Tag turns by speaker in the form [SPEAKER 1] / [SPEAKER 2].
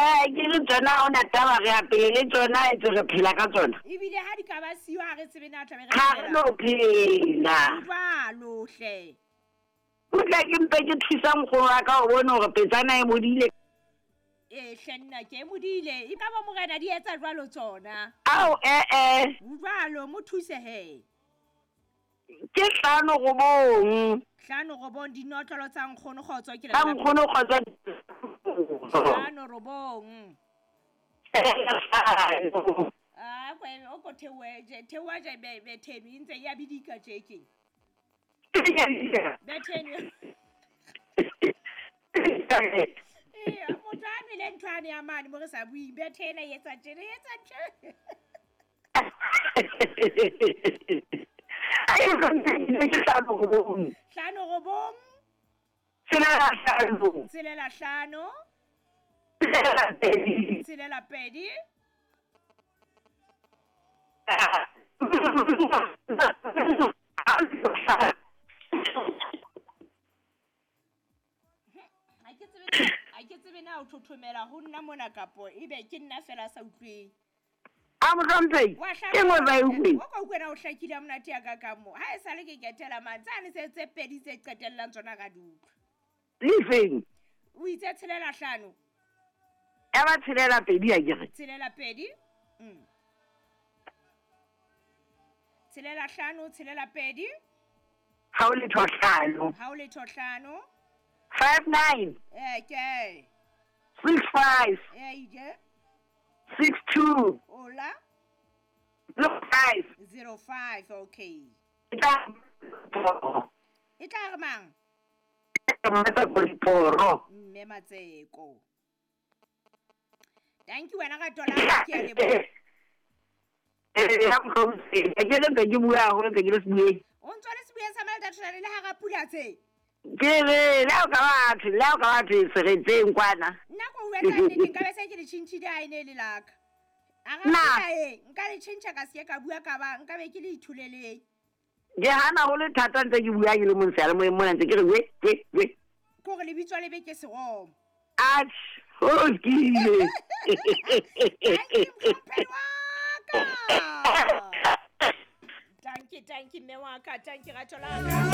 [SPEAKER 1] Ke re tsona ha ona taba re apele tsona etse re phela ka tsona.
[SPEAKER 2] Ebile ha di ka ba siyo ha re tsebe na tlabe re
[SPEAKER 1] Ha re no phela.
[SPEAKER 2] Jwalo hle.
[SPEAKER 1] O tla ke mpe ke thusa nkgono wa ka o bone hore petsana e bodile.
[SPEAKER 2] Ee hle nna ke e modile. E ka ba morena di etsa jwalo tsona.
[SPEAKER 1] Ao eh.
[SPEAKER 2] Jwalo mo thuse he.
[SPEAKER 1] Ke 5 9.
[SPEAKER 2] 5 9 dinotlolo tsa nkgono kgotso ke
[SPEAKER 1] Tsa nkgono kgotso.
[SPEAKER 2] 5 9. Ah, kwe o ko theohe je theoha je be betheno e ntse ya bidika tje keng. Betheno. Ee, motho a nwele ntho ane ya mane mo re sa buing bethena e etsa tjena e etsa tje.
[SPEAKER 1] Ai ke 5 9.
[SPEAKER 2] 5 9.
[SPEAKER 1] 6 5.
[SPEAKER 2] 6 5.
[SPEAKER 1] 6 2.
[SPEAKER 2] 6 2. Ha ke tsebe na o thothomela ho nna mona kapo ebe ke nna fela sa utlweng.
[SPEAKER 1] A mohlomphehi ke nngwe ba e utlweng.
[SPEAKER 2] O ka utlwe na o hlakile ha monate ya ka ka mo. Ha e sale ke ketela mane tsane tse tse pedi tse qetellang tsona ka di utlwa.
[SPEAKER 1] Lefeng?
[SPEAKER 2] O itse 6 5.
[SPEAKER 1] Ya ba 6 2 a kere.
[SPEAKER 2] 6 2. 6 5 6 2.
[SPEAKER 1] Ha o letho 5.
[SPEAKER 2] Ha o letho 5.
[SPEAKER 1] 5 9.
[SPEAKER 2] Ke.
[SPEAKER 1] 6 5.
[SPEAKER 2] Ije.
[SPEAKER 1] 6 2.
[SPEAKER 2] Ola.
[SPEAKER 1] 05.
[SPEAKER 2] 05 okay.
[SPEAKER 1] E tla
[SPEAKER 2] E tla re mang?
[SPEAKER 1] Mmatseko.
[SPEAKER 2] Mme Matseko. Thank you wena ka tola ke a leboha.
[SPEAKER 1] Ya mohlomphehi ke le ntse ke bua haholo ntse ke le sebueng.
[SPEAKER 2] O ntso le sebueng sa Maldatshwane le hara pula tse.
[SPEAKER 1] Ke re le ha o ka batho le ha o ka batho seretseng kwana.
[SPEAKER 2] Nna ko bua ka nnete nka be se ke le tjhintjhile ha e ne le laka. A ra
[SPEAKER 1] Na.
[SPEAKER 2] pula e nka le tjhentjha ka se ka bua ka ba nka be ke le ithuleleng.
[SPEAKER 1] Ke hana ho le thata ntse ke bua ke le mong seyalemoyeng mona ntse ke re we we we.
[SPEAKER 2] Ke hore lebitso le be ke seromo.
[SPEAKER 1] Atjhe, ho lokile.
[SPEAKER 2] Thank you mohlomphehi wa ka. Thank you, thank you mme wa ka, thank you rato la ka.